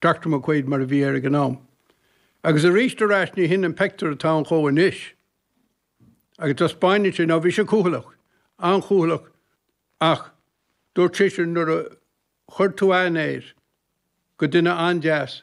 Doctor McQuaid mar a bhí air ag an am. Agus arís ar ais ní hin an peictiúr atá ann dhó anois. Agus taispeáineann sé, nó bhí sé cúthaileach, an-chúthaileach ach dúirt seisean nuair a chuir tú aithne air, gur duine an-deas.